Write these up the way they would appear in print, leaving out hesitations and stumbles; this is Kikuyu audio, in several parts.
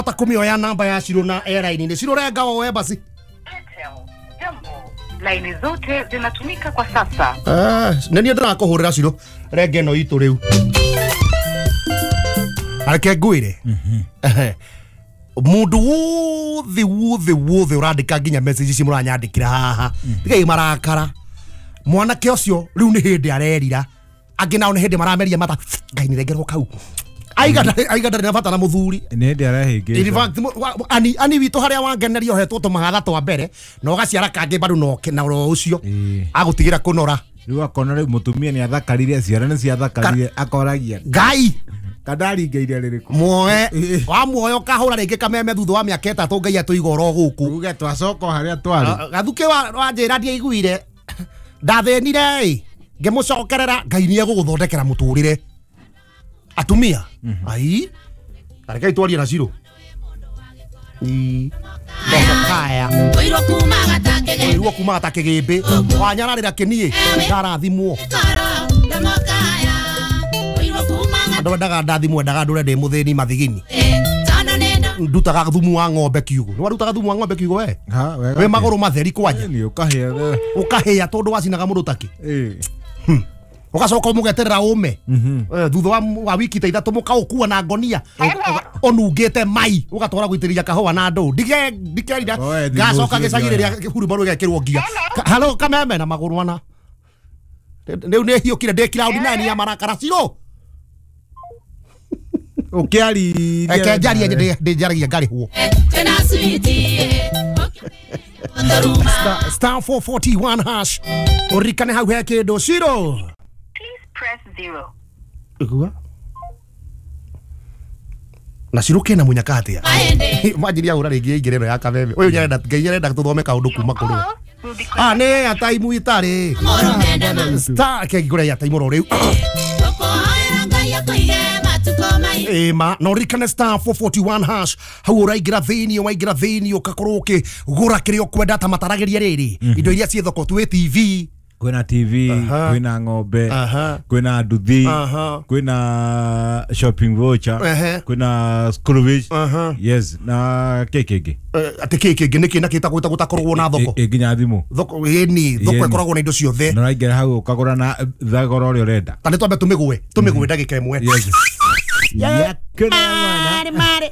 Ta kũmĩoya namba ya Shiro na airline-inĩ. Shiro renga woe basi. Airtel, jambo. Laini zote zinatumika kwa sasa. Ah, nĩ niĩ ndĩrakũhũrĩra Shiro renga ĩno itũ rĩu. Reke ngwĩre. Ehe. Mũndũ wothe wothe wothe ũrandĩka nginya message ici mũranyandĩkĩra haha, tigai marakara. Mwanake ũcio rĩu nĩ hĩndĩ arerira, angĩ nao nĩ hĩndĩ marameria mata. Ngai nĩ rengerwo kau aiga ndarĩ na bata na mũthuri. Nĩ hĩndĩ arehĩngĩca. In fact, ani witũ harĩa wangeneria ũhetwo tũmahatha twa mbere na ũgaciara kangĩ bado na oro ũcio agũtigĩra kũnora. Rĩu akona rĩu mũtumia nĩ athakarire, ciana nĩ ciathakarire, akoragia Ngai kandaringeire rĩrĩkũ. Muoe wa muoyo kahũra rĩngĩ kameme thutha wa mĩaka 3 Ngai atũiga oro gũkũ. Uge twacoka o harĩa twarĩ. Gathukĩ wanjĩra ndiaiguire ndathĩnire ĩ ngĩmũcokerera. Ngai nĩ egũgũthondekera mũtũrĩre atumia. Ai rekei twarie na Shiro. Kaya ũirwo kuma gatakĩgĩmbĩ wanyararĩra kĩniĩ ndarathimwo. Andũ endaga ndathimwo, endaga ndũre ndĩ mũthĩni mathigini. Ndutaga thumu wa ng'ombe kiugo. Nĩ warutaga thumu wa ng'ombe kiugo we? Ha, wega. Wĩ magũrũ matheri kwanja. Nĩ ũkahĩa. Ũkahĩa tondũ wacinaga mũndũ takĩ. Ĩĩ. Ũgacoka ũmũgeterera ũme. Thutha wa wiki ta 3 mũkaũkua na ngonia ũnungĩte mai ũgatwara gũitĩrĩria kahũa na ndũ. Ndikerira Oe, thimũ ngacoka ũcio gĩcagi ndioya. rĩrĩa hurumbarũ ĩgekĩrwo ngia. Halo kameme na magũrũ ana. Rĩu nĩ hiũkire ndĩ cloud 9 ya marakara Shiro. Ũkĩaririe. Reke njarie ndĩ njaragia ngarĩhwo. Star 441 hash. Ũririkane hau he kĩndũ Shiro. Please press 0. Igua. Na Shiro kena munyaka atia. Manjiria hũra rĩngĩ ĩingĩre ĩno ya kameme. Ũyũ nyarenda Ngai arenda tũthome kaũndũ kuma kũrĩ we. Call will be Ah, nĩ airtime itarĩ. Star kengũra airtime oro rĩu. Ĩma na ũririkane star 441 hash hau ũraingĩra thĩinĩ, waingĩra thĩinĩ ũgakorwo ũkĩgũra kĩrĩa ũkwenda ta mataragĩria rĩrĩ indo iria ciĩ thoko twĩ TV. Kwĩna TV, kwĩna ng'ombe, kwĩna nduthi, kwĩna shopping voucher, kwĩna school fees. Yes, na kĩ kĩngĩ? Atĩ kĩ kĩngĩ nĩkĩ na kĩtagwo gũtakoragwo na thoko? Ĩ nginya thimũ. Thoko ĩni thoko Ĩni. ĩkoragwo na indo ciothe. Na ũraingĩra hau ũkagũra na thogora ũrĩa ũrenda. Ta nĩ twambe tũmĩgwe ndagĩka ĩmwe. Yes. Yakena mwana. Mare,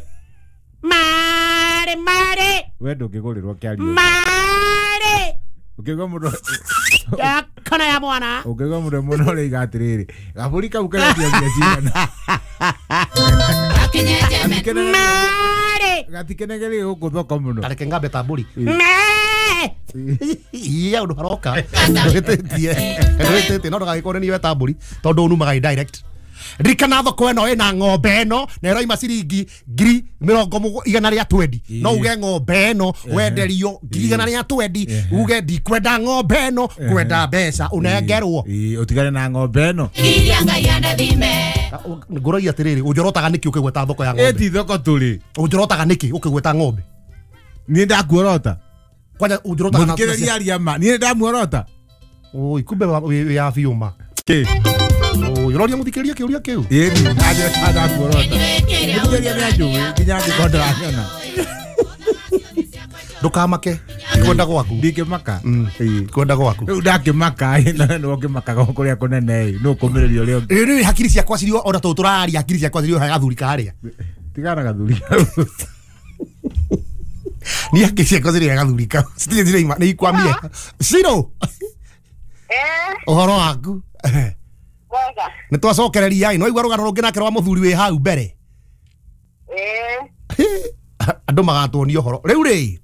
mare, mare, We ndũngĩgũrĩrwo kĩario. mare. Ũkĩigua mũndũ Yakana ya mwana. ũkĩigua mũndũ mũno ũraiga atĩrĩrĩ, gabũri kau karendio mbia cigana? Mare. Gatikenegeri gũkũ thoko mũno. Tareke ngambe ta mbũri. Me. Iya ũndũ haroka ndũhĩtĩtie ndũhĩtĩtie no ndũgagĩkorwo nĩ niwe ta mbũri tondũ unumaga indirect. Ririkana thoko ĩno ĩna ng'ombe ĩno na ĩroima ciringi 120,000. No uge ng'ombe ĩno wenderio 120,000, uge ndikwenda ng'ombe ĩno ngwenda mbeca ũnengerwo. Ĩĩ, ũtigane na ng'ombe ĩno. Ngũragia atĩrĩrĩ, ũnjorotaga nĩkĩ ũkĩgweta thoko ya ng'ombe? Ĩ ti thoko tũrĩ. Ũnjorotaga nĩkĩ ũkĩgweta ng'ombe? Niĩ ndakuorota. Kwanja ũnjorotaga na Mũthikĩrĩria aria ma. Niĩ ndamuorota. Oi, kumbe wĩ ya biũ ma. Kĩ? Oi, ũroria mũthikĩrĩria kĩũria kĩu? Ĩni, ndanjĩra kana ndakuorota. Mũthikĩrĩria nĩ anjũĩ nginya angĩkorwo ndaranyona. Ndũkamake kwenda gwaku. Ndingĩmaka. Ĩĩ. Kwenda gwaku. Rĩu ndakĩmaka ĩ, na nĩ ũngĩmakaga kũrĩa kũnene ĩ, nũ ũkũmĩrĩria ũrĩa ũngĩ. Rĩu rĩu hakiri ciakwa cirio ona tũũ tũraria hakiri ciakwa cirio gathuri karĩa. Tigana gathuri kau. Niĩ hakiri ciakwa cirio gathuri kau. Citirĩ ciraima nĩ ikwamire. Shiro, ũhoro waku? Wega. Nĩ twacokereria ĩ, no igua rũgano rũngĩ nake rwa mũthuri wĩ hau mbere. Andũ magatuonia ũhoro. Rĩu rĩ,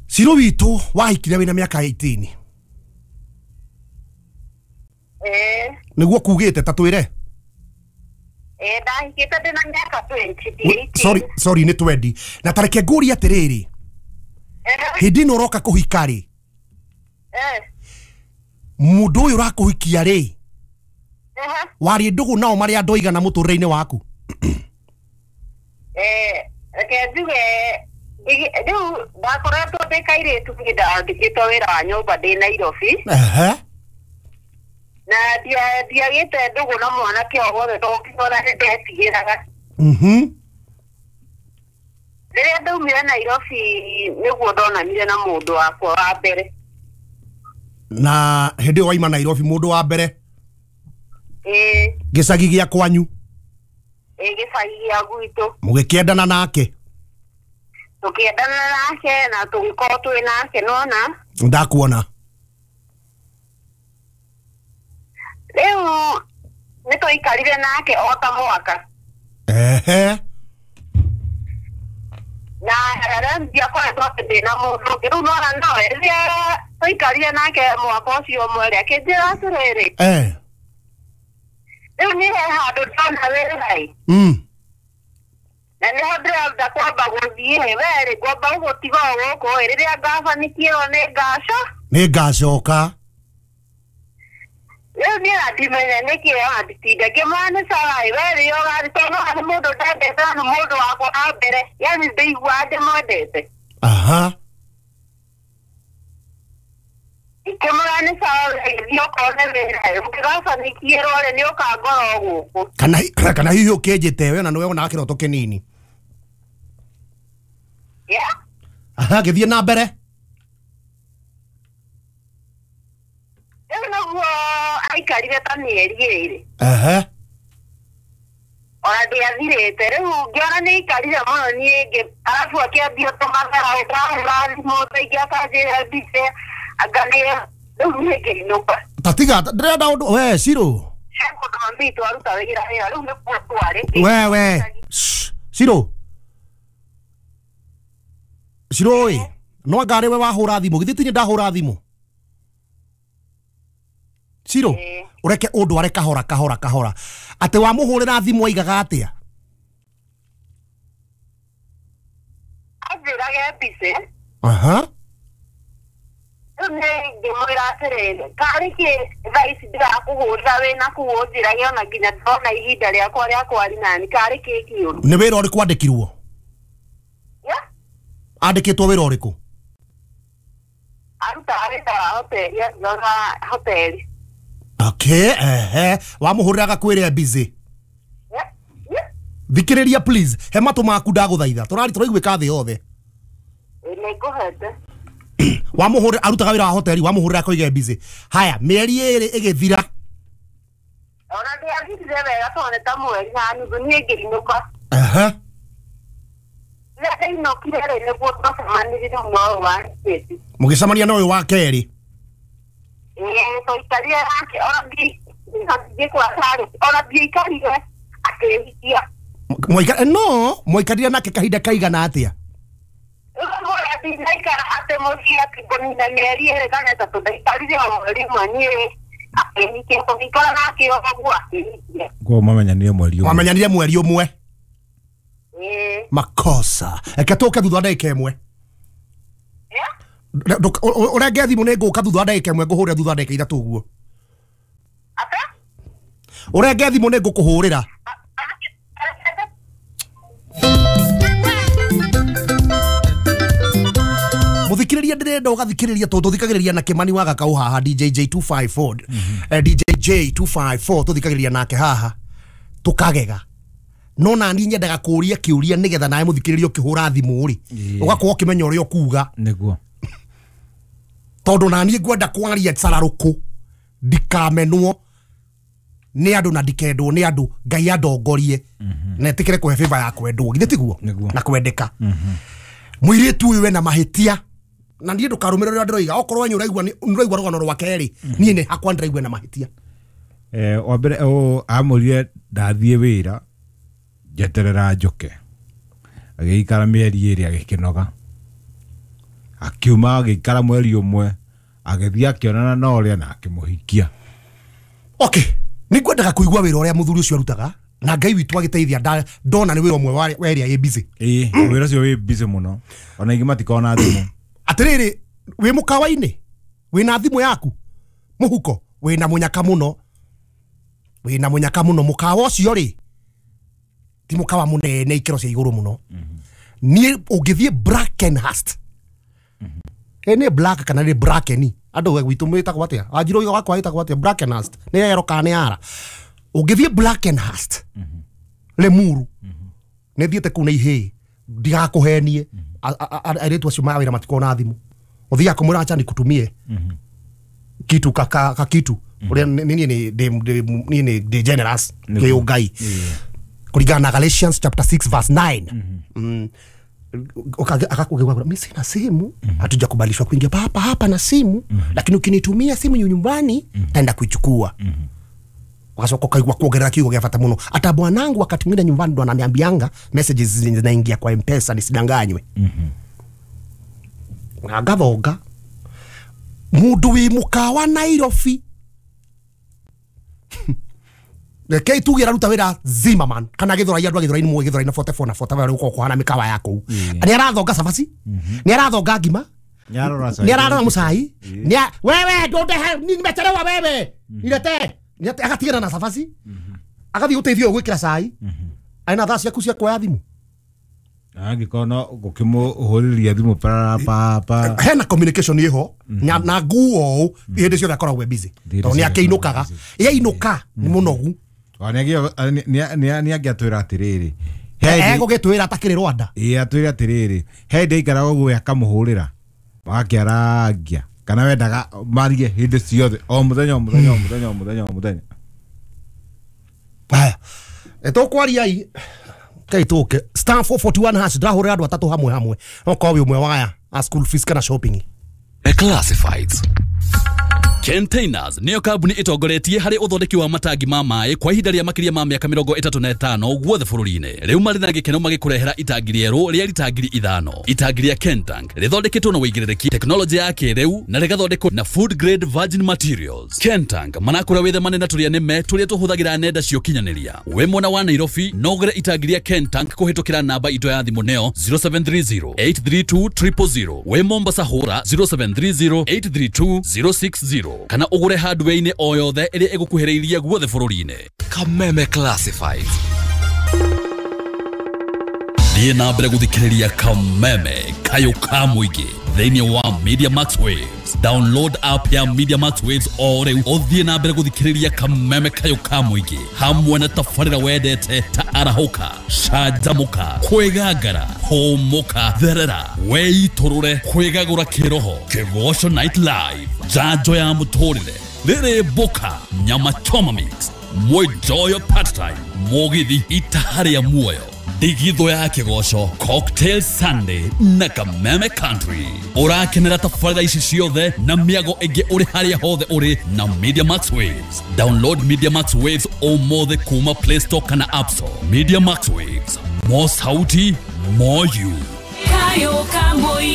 Shiro witũ wahikire wĩna mĩaka 18. Nĩguo kugĩte ta twĩre. Ndahikĩte ndĩna mĩaka 20. Sorry, sorry nĩ 20. Na tareke ngũrie atĩrĩrĩ, hĩndĩ ĩno ũroka kũhika rĩ, mũndũ ũyũ ũrakũhikia rĩ, warĩ ndũgũ nao marĩ andũ aigana mũtũrĩre-inĩ waku? Reke njuge rĩu ndakoretwo ndĩ kairĩtu niĩ ndandĩkĩtwo wĩra wa nyũmba ndĩ Nairobi. Na ndiagĩte ndũgũ na mwanake o wothe tondũ nginya ona nĩ ndetigĩraga. Rĩrĩa ndaumire Nairobi nĩguo ndonanire na mũndũ wakwa wa mbere. Na hĩndĩ ĩyo waima Nairobi mũndũ wa mbere? Ĩĩ. Gĩcagi gĩa kwanyu? Ĩĩ, gĩcagi gĩa gwitũ. Mũgĩkĩendana nake? Tũkĩendana nake na tũgĩkorwo twĩ nake, nona? Ndakuona. Rĩu nĩ twaikarire nake o ta mwaka. Ehe. Na arambia koretwo atĩ ndĩna mũndũ ũngĩ. Rĩu nona nowe rĩrĩa twaikarire nake mwaka ũcio ũmwe rĩ, akĩnjĩra atĩrĩrĩ. Rĩu niĩ he handũ ndona wĩra ĩ. Na nĩho ndĩrenda kwamba gũthiĩ we rĩ, ngwamba gũgũtiga o gũkũ ĩ, rĩrĩa ngabanikĩrwo nĩ ngaco. Nĩ ngacoka. Rĩu niĩ ndimenya nĩkĩ anditinda ngĩmwĩra nĩ sawa ĩ, we rĩrĩa ũgathiĩ tondũ nĩ mũndũ ndendete na nĩ mũndũ wakwa wa mbere, yani ndĩiguaga ndĩmwendete. Aha. Ngĩmwĩra nĩ sawa gĩthiĩ ũkone wĩra ĩ, ũngĩgabanikĩrwo rĩ nĩ ũkangora o gũkũ. Kana hihi ũkĩnjĩte we na nĩwe wonaga kĩroto kĩnini. Yeah. Aha, gĩthiĩ na mbere. Rĩu nĩguo aikarire ta mĩeri ĩrĩ. Ehe. Ona ndĩathirĩte. Rĩu ngĩona nĩ aikarire mũno niĩ ngĩ, arabu akĩambia tũmatharau, ndahũra thimũ thaa ingĩ akanjĩra mbica, anga nĩ rĩu niĩ ngĩinũka. Ta tiga, ndĩrenda ũndũ, we, Shiro. He mũndũ mami witũ aruta wĩra wĩra, rĩu nĩkuo twarĩ. We. Shiro. Shiro ĩ, no anga arĩ we wahũra thimũ, githĩ ti niĩ ndahũra thimũ? Shiro, ũreke ũndware kahora kahora kahora. Atĩ wamũhũrĩra thimũ aigaga atĩa? Anjĩrage mbica. Aha. Rĩu niĩ ngĩmwĩra atĩrĩrĩ, karĩ kĩ thaa ici ndĩrakũhũrĩra wĩna kũu ũnjĩrage ona nginya ndona ihinda rĩakwa rĩa kwari nani, karĩ kĩ kĩũru? Nĩ wĩra ũrĩkũ andĩkirwo? Yeah. Andĩkĩtwo wĩra ũrĩkũ? Arutaga wĩra wa hoteli, arutaga hoteli. Okay, ehe. Wamũhũrĩra agakwĩra busy. Yeah. Yeah. Thikĩrĩria please, he matũ maku ndagũthaitha. Tũrari tũraiguĩka thĩ yothe. Nĩ ngũhete. Wamũhũrĩra arutaga wĩra wa hoteli, wamũhũrĩra akoiga busy. Haya, mĩeri ĩrĩ ĩgĩthira. Ona ndĩathirire wega tondũ nĩ ta mweri na nuthu niĩ ngĩinũka. Ehe. Rĩrĩa ndainũkire rĩ, nĩguo twacemanirie na ũyũ wa Kĩti. Mũgĩcemania na ũyũ wa kerĩ. Ĩĩ, twaikarire nake ona ndingĩkwĩra ona ndiaikarire akĩhikia. No, mwaikarire nake kahinda kaigana atĩa? Rĩu ndinaikara atĩ mũciĩ atĩ ngũnina mĩeri ĩrĩ kana ĩtatũ, ndaikarire o mweri ũmwe niĩ akĩhikia, tũgĩikara nake o ũguo akĩhikia. Koguo mamenyanire mweri ũmwe. Mamenyanire mweri ũmwe. Ĩĩ. Makosa. Reke tũke thutha wa ndagĩka ĩmwe. Ũrenge thimũ nĩ ngũka thutha wa ndagĩka ĩmwe, ngũhũrĩra thutha wa ndagĩka ithatũ ũguo. Atĩa? Ũrenge thimũ nĩ ngũkũhũrĩra. Mũthikĩrĩria ndĩrenda ũgathikĩrĩria tondũ tũthikagĩrĩria na Kĩmani wa Gakaũ haha DJJ 254. DJJ 254 tũthikagĩrĩria nake haha tũkagega. No nani nyendaga kũũria kĩũria nĩgetha nawe mũthikĩrĩria ũkĩhũra thimũ rĩ, ũgakorwo ũkĩmenya ũrĩa ũkuga. Nĩguo. Tondũ naniĩ ngwenda kwaria cararũkũ ndikamenwo nĩ andũ na ndikendwo nĩ andũ, Ngai andongorie na etĩkĩre kũhe favor ya kwendwo, githĩ tiguo? Na kwendeka. Mũirĩtu ũyũ ena mahĩtia na niĩ ndũkarũmĩrĩre ũrĩa ndĩroiga, okorwo wanyu ũraigua nĩ ũraigua rũgano rwake rĩ, niĩ nĩ hakwa ndĩraigua ena mahĩtia. Wa mbere amũrire ndathiĩ wĩra njeterera njoke, agĩikara mĩeri ĩrĩ agĩkĩnoga, akiuma agĩikara mweri ũmwe agĩthiĩ akĩonana na ũrĩa na akĩmũhikia. Okay, nĩ ngwendaga kũigua wĩra ũrĩa mũthuri ũcio arutaga na Ngai witũ agĩteithia ndona nĩ wĩra ũmwe wa ĩrĩa ĩ busy. Ĩĩ, wĩra ũcio wĩ busy mũno, ona ingĩ matikoragwo na thimũ. Atĩrĩrĩ, wĩ mũkawa-inĩ, wĩna thimũ yaku mũhuko, wĩna mũnyaka mũno, wĩna mũnyaka mũno. Mũkawa ũcio rĩ ti mũkawa mũnene ikĩro cia igũrũ mũno. Niĩ ũngĩthiĩ Brackenhurst, nĩ Black kana nĩ Bracken, andũ gwitũ mwĩtagwo atĩa? Wanjirũ wakwa wĩtagwo atĩa? Brackenhurst nĩ ero kana nĩ ara? Ũngĩthiĩ Brackenhurst Limuru, nĩ thiĩte kũu na ihĩĩ, Ndigakuhenie airĩtu acio ma wĩra matikoragwo na thimũ. Ũthiaga kũmwĩra acha nikutumie kitu ka kitu ũrĩa niĩ nĩ ndĩ generous kĩ Ngai kũringana na Galatians chapter 6 verse 9. Akakugeuka, mimi sina simu, hatujakubalishwa kuingia hapa hapa na simu, lakini ukinitumia simu nyumbani naenda kuichukua. Wakacoka ukaigua kuongerera kiugo gĩa bata mũno. Ata bwanangu wakati mwingine nyumbani ndo ananiambianga messages zinaingia kwa M-Pesa nisidanganywe. Na ngathonga mundu wi mukawa Nairobi rekei tuge araruta wira Zimmerman kana Githurai, andu a Githurai ni Githurai na 44 na 45 uko kuhana mikawa ya kuu. Ni arathonga cabaci, ni arathonga ngima, ni ararora mucai, ni wewe ndondehe nimechelewa wewe nilete, agatigana na cabaci agathie guteithio gwikira cai aina thaa ciaku cia kuoya thimu angĩkorwo no gũkĩmũhũrĩria thimũ pa pa hena communication iho na nguo ũũ hĩndĩ ciothe akoragwo e busy tondũ nĩ akĩinũkaga yainũka nĩ mũnogu. Nĩ angĩatwĩra atĩrĩrĩ, egũgĩtwĩra atakĩrĩ Rwanda. Ĩĩ atwĩre atĩrĩrĩ, he hĩndĩ aikaraga ũguo akamũhũrĩra magakĩarangia kana wendaga marie hĩndĩ ciothe o mũthenya o mũthenya o mũthenya o mũthenya o mũthenya. Haya tũkwaria i kai tũke star 441 hash ndahũrĩra andũ atatũ hamwe hamwe no korwo wĩ ũmwe waya a school fees kana shopping. Classifieds. Containers niyo kambuni itongoretie harĩ ũthondeki wa matangi ma maĩ kwa ihinda rĩa makĩria ma mĩaka 35 guothe bũrũri-inĩ. Rĩu marĩ na gĩkeno magĩkũrehera itangi rĩerũ rĩa rita 5,000. Itangi rĩa Kentank rĩthondeketwo na wĩigĩrĩrĩki, tekinoronjĩ ya kĩrĩu na rĩgathondekwo na food grade virgin materials. Kentank manakũra wĩthemane na tũrĩa nĩme tũrĩa tũhũthagĩra nenda cia ũkinyanĩria. Wĩ mwena wa Nairobi no ũgũre itangi rĩa Kentank kũhĩtũkĩra namba itũ ya thimũ nĩyo 0730 832 000. Wĩ Mombasa hũra 0730 832 060 kana ũgũre hardware-inĩ o yothe ĩrĩa ĩgũkuhĩrĩirie guothe bũrũri-inĩ. Kameme Classifieds. Thiĩ na mbere gũthikĩrĩria Kameme kayũ ka mũingĩ thĩinĩ wa Media Max Waves. Download app ya Media Max Waves o rĩu ũthiĩ na mbere gũthikĩrĩria Kameme kayũ ka mũingĩ hamwe na tabarĩra wendete ta arahũka, canjamũka, kwĩgangara, hũmũka, therera, weitũrũre, kwĩgagũra kĩroho, Kĩgoco Night Live, njanjo ya mũtũrĩre, rĩrĩ mboka, nyama choma mix, mwenjoyo part time, mũgithi itaha rĩa muoyo, ndigithũ ya kĩgoco, Cocktail Sunday na Kameme Country. Ũrakenera tabarĩra ici ciothe na mĩago ĩngĩ ũrĩ harĩa hothe ũrĩ na Media Max Waves. Download Media Max Waves ũmũthĩ kuma Play Store kana App Store. Media Max Waves, more sauti, more you. Kayo ka mũingĩ.